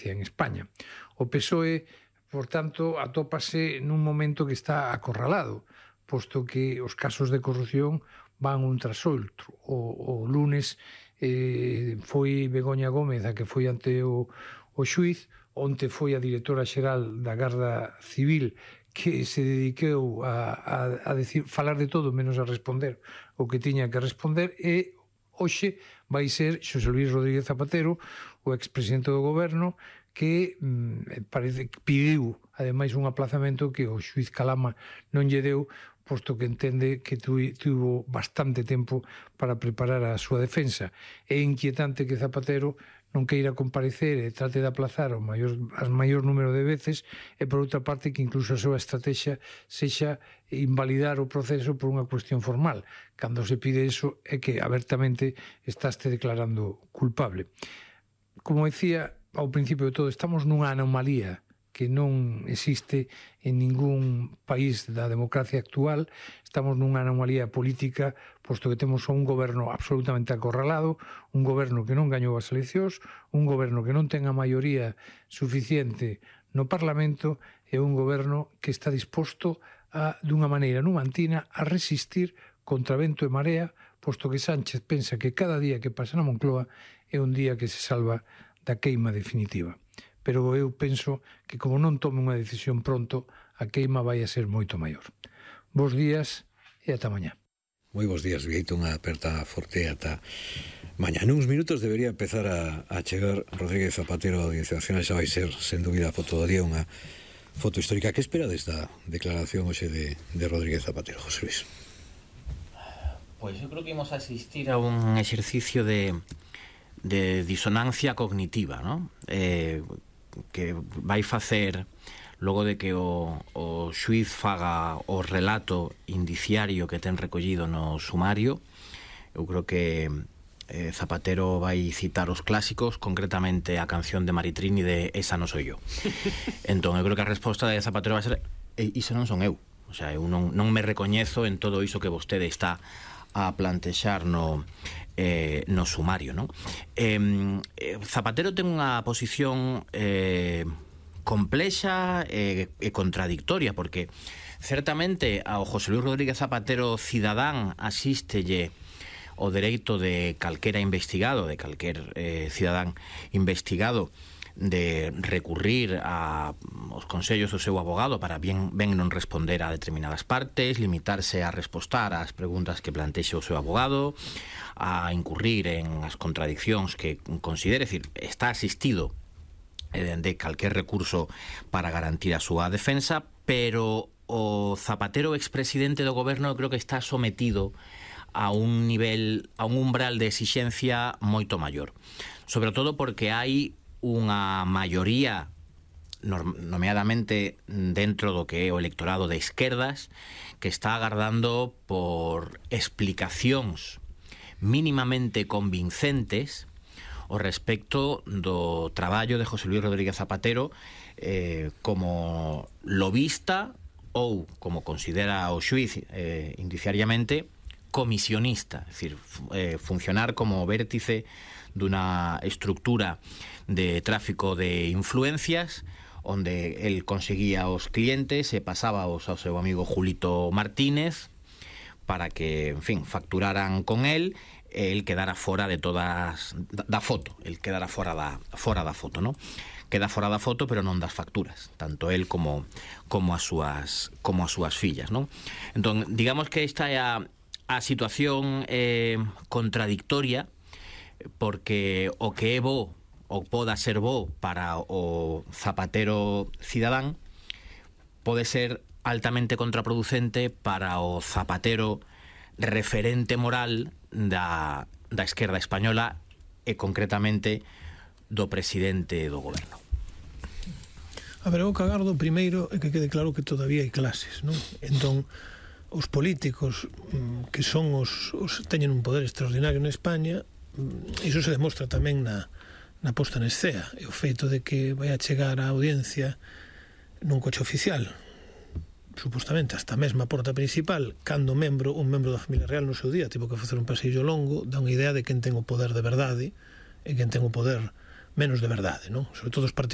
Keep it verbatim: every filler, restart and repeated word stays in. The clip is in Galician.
democracia en España. O P S O E, por tanto, atópase nun momento que está acorralado, posto que os casos de corrupción van un tras outro. O, o lunes eh, foi Begoña Gómez a que foi ante o, o xuiz, onte foi a directora xeral da Garda Civil que se dediquou a, a, a decir, falar de todo menos a responder o que tiña que responder, e hoxe vai ser Xosé Luís Rodríguez Zapatero, o expresidente do goberno, que mm, parece que pediu, ademais, un aplazamento que o xuiz Calama non lle deu, posto que entende que tuvo bastante tempo para preparar a súa defensa. É inquietante que Zapatero non queira comparecer e trate de aplazar o maior, as maior número de veces, e por outra parte que incluso a súa estrategia sexa invalidar o proceso por unha cuestión formal. Cando se pide iso é que abertamente estaste declarando culpable. Como decía ao principio de todo, estamos nunha anomalía que non existe en ningún país da democracia actual. Estamos nunha anomalía política, posto que temos un goberno absolutamente acorralado, un goberno que non gañou as eleccións, un goberno que non ten a maioría suficiente no Parlamento, e un goberno que está disposto a, dunha maneira numantina, a resistir contra vento e marea, posto que Sánchez pensa que cada día que pasa na Moncloa é un día que se salva da queima definitiva. Pero eu penso que como non tome unha decisión pronto, a queima vai a ser moito maior. Bos días e ata mañá. Moi bons días, Vieito, unha aperta forte ata mañá. Nuns minutos debería empezar a, a chegar Rodríguez Zapatero á Audiencia Nacional. Xa vai ser, sen dúbida, a foto do día, unha foto histórica. Que espera desta declaración hoxe de, de Rodríguez Zapatero, José Luis? Pois eu creo que imos asistir a un exercicio de, de disonancia cognitiva, ¿no? Eh, que vai facer logo de que o, o xuiz faga o relato indiciario que ten recollido no sumario. Eu creo que eh, Zapatero vai citar os clásicos, concretamente a canción de Maritrini de Esa non soy yo. Entón, eu creo que a resposta de Zapatero vai ser e, iso non son eu. O sea, eu non, non me recoñezo en todo iso que vostede está a plantexar no, eh, no sumario, ¿no? Eh, Zapatero ten unha posición eh, complexa e, e contradictoria, porque certamente ao José Luís Rodríguez Zapatero cidadán asístelle o dereito de calquera investigado, de calquer eh, cidadán investigado, de recurrir a os consellos do seu abogado para bien, ben non responder a determinadas partes, limitarse a respostar ás preguntas que plantexe o seu abogado, a incurrir en as contradiccións que considere, é dicir, está asistido eh, de calquer recurso para garantir a súa defensa, pero o Zapatero expresidente do goberno creo que está sometido a un nivel, a un umbral de exixencia moito maior, sobre todo porque hai unha maioría, nomeadamente dentro do que é o electorado de esquerdas, que está agardando por explicacións mínimamente convincentes ao respecto do traballo de José Luís Rodríguez Zapatero eh, como lobista ou, como considera o xuiz eh, indiciariamente, comisionista, é dicir, eh, funcionar como vértice dunha estructura de tráfico de influencias onde el conseguía os clientes e pasábaos ao seu amigo Julito Martínez para que, en fin, facturaran con el e el quedara fora de todas da foto, el quedara fora da fora da foto, ¿no? Queda fora da foto, pero non das facturas, tanto el como como as súas como as súas fillas, ¿no? Entón, digamos que esta é a a situación eh, contradictoria, porque o que é bo ou poda ser bo para o Zapatero cidadán pode ser altamente contraproducente para o Zapatero referente moral da, da esquerda española e concretamente do presidente do goberno. A ver, o que agardo primeiro é que quede claro que todavía hai clases, non? Entón, os políticos que son os, os teñen un poder extraordinario en España, iso se demostra tamén na na posta en escena, e o feito de que vai a chegar á audiencia nun coche oficial, supostamente hasta a mesma porta principal, cando membro, un membro da familia real no seu día tivo que facer un paseillo longo, dá unha idea de quen ten o poder de verdade e quen ten o poder menos de verdade, non? Sobre todo os partidos